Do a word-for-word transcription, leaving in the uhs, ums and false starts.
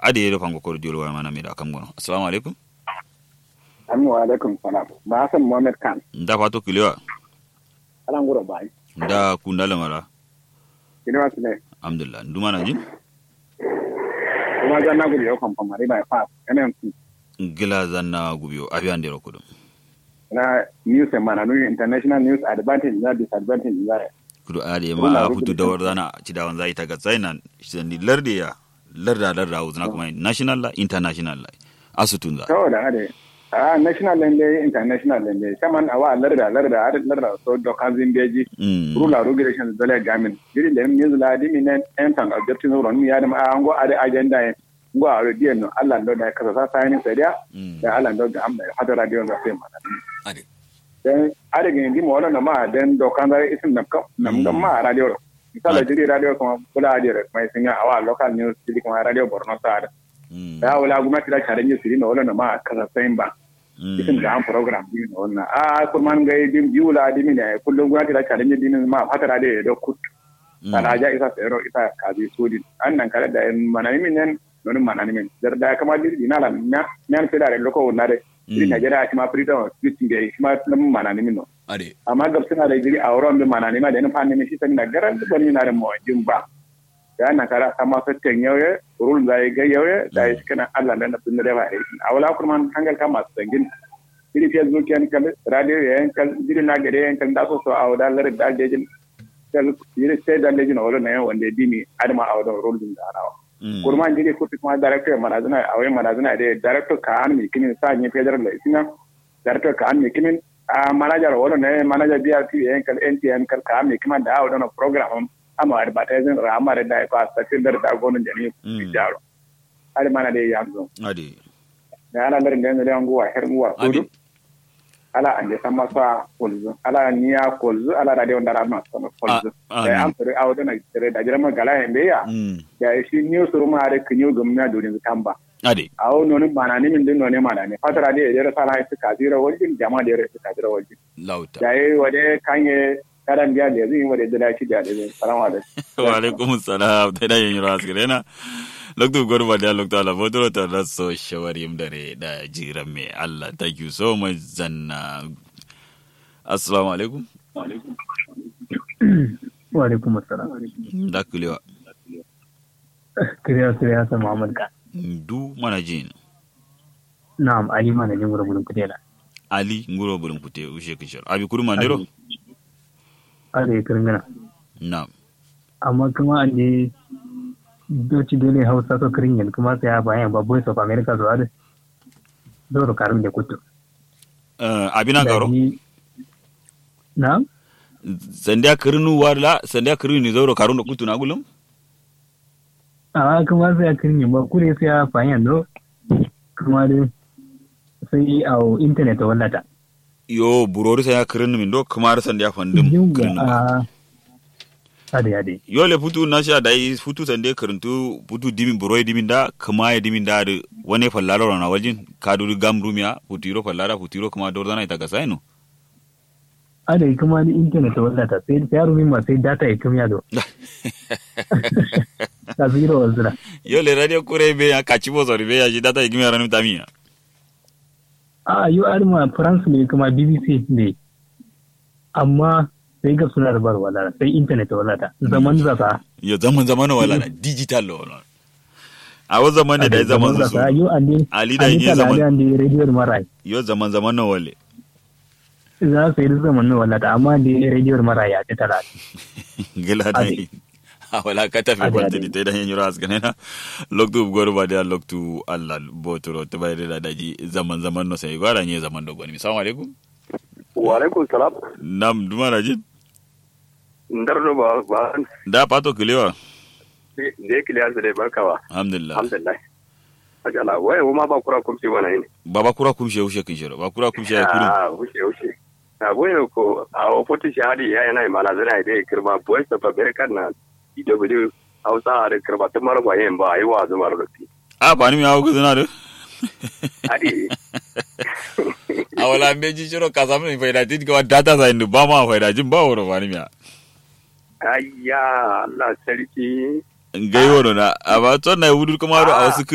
Adǝ ye do fango kodo diwol waya mana me da kam gono. Assalamu alaikum. Amin wa alaikum salam. Ba hassan muhammad khan. Nda fato kilewa. Ala nguro bai. Nda kunda lamara. Kilewa sile. Alhamdulillah, ndu mana jin? Kuma zanna gubiyo kamfamari bai fa. Mnc. Ngila zanna gubiyo abi andero kudum. Na news e mana nui international news advantage na disadvantage na. Kudu ade ma a futu dawar zana. Cidawan zai ta gatsai nan sandi larde ya. Larda larda wuzna kuma national la international la. Asutun za. Saboda ade a national lende international lende saman awa larda larda ade larda so dokan zimbeji. Rula regulation dole gamin jiri lem news la dimi nen entan objective no ron mi adam a ngo ade agenda en. Ngo a ro diyen no allah ndo da kasa sa sayani sadiya. Da allah ndo ga amma hada radio ga sai mana. Ade. Den ade gin dimo wala no ma den dokan zare isin nam kam nam gam ma radio ro. Misala jiri radio kuma bula adiyar kuma isin ya awa local news jiri kuma radio borno sa da. Ya wala gumnati da challenge siri no wala no ma kasa sain ba. Isin da an program din no wala a kurman ga din biyu la dimi ne kullum gumnati da challenge din ma fatara da ya do kut. Kala ja isa tsero isa kazi sudin an nan kala da manani min nan. Nonin manani min dar da kama dir dina la na nan sai da loko wala da. Irin najeriya shi ma freedom of speech da shi ma nan manani min no. Ade. Amma gab suna da jiri a wurin bin manani ma da yin fanni min shi sani na garan duk wani na da mawajin ba. Da nan kara sama sattan yauye rul zai ga yauye da ya shi kana allah da na sun da ba. A wala kurman hangal kama su dangin. Jiri facebook yan kal radio yan kal jiri na gare yan kal da so so a wada larin da dejin. Kal jiri sai da dejin a wala na yan wanda dimi adama a wada rul din da arawa. Kurman jiri kutu kuma director manazina a wai manazina da director ka an mi kimin sa ni federal la isina. Director ka an mi kimin a manager wala ne manager brp yan kal ntn kal ka an mi kiman da a wada program. Amma advertising ra amma da da ko a safir da da gonon jami'u. Jaro. Ade mana de yanzu. Ade. Da ala larin da yanzu da yangu wa her mu wa kudu. Ala ande sama sa kolzu ala niya kolzu ala radio ndara ma sama kolzu. Da am sere awo dana sere da jira ma gala yambe ya. Da shi niyo suru ma are kinyo gumna dodin tamba. Ade. Awo noni manani min din noni manani fatara de ere sala isi kazira waljin jama de ere isi kazira waljin. Lauta. Da yi wade kanye karan biya lezi yin wade dala shi biya lezi salamu alaikum. Wa alaikum salam ta da yin yiro askirena. Loktu gorba da loktu ala fotoro ta da so shawari yim dare da jiran me allah thank you so much zanna. Assalamu alaikum. Wa alaikum assalam. Da kulewa. Kiriya siriya sa muhammad ka. Du mana jin. Na'am ali mana jin gura gudun kutela. Ali nguro bulum kute ushe kishar abi kudu mandero. Ade kiringana. Na'am. Amma kuma ande doci dole hausa so kiringin kuma sai a bayan ba voice of america so ade. Doro karin da kutu. Abina garo. Na'am. Sandiya kirinu wala sandiya kirinu ni zauro karun da kutu na gulum. A kuma sai a kirinu ba kure sai a fayan do. Kuma dai sai a internet wallata. Yo burori sai a kirinu min do kuma da sandiya fandum kirinu ba. Ade ade. Yo le futu na sha dai futu sande kirinu futu dimin buroi dimin da kuma ya dimin da wane fallaro na waljin. Kaduri gam rumiya futu iro fallara futu iro kuma dorzana ita ga sai no. Ada ikǝma ni internet wallata sai sai arumi ma sai data ikǝmiya do. Kasiro walzǝna. Yo le radio kure be ya kaci bo sori be ya shi data ikǝmiya ranǝm tamiya. A yo adǝma france ne kuma bbc ne. Amma sai gabsǝna da bar wallata sai internet wallata zaman zasa. Yo zaman zaman wallata digital lo wallata. Awo zaman ne dai zaman zu soro. Ali dai nye zaman. Yo zaman zaman no wale. Za su yi zaman no wala ta amma dai radio mara ya ta tara. Gila dai. Awala kata fe kwalta di tai dai nyiro asgane na. Loktu goro ba dai loktu allah botoro ta bai da daji zaman zaman no sai gwara nye zaman dogon mi salamu alaikum. Wa alaikum salam. Nam duma na jin. Ndardo ba ba. Da pato kilewa. De kilewa su dai barkawa. Alhamdulillah. Alhamdulillah. Ajala waye wuma ba kura kumsi wana yini. Baba kura kumsi ya ushe kinshero ba kura kumsi ya kuru. Ah ushe ushe. Na boye ko a ofotu shahadi ya yana imana zana ide kirma boye sa babere kan na. Ido bidu hausa a da kirma tun mara ba yin ba ayi wa zuma rufi. A ba ni mi hawo guzuna do. Adi. A wala mbeji shiro kasamu ni faida tin kawa data sa indu ba ma faida jin ba woro ba ni mi. Ayya allah sarki. Ngai wono na amma tson na wudur kuma do a wasu kis.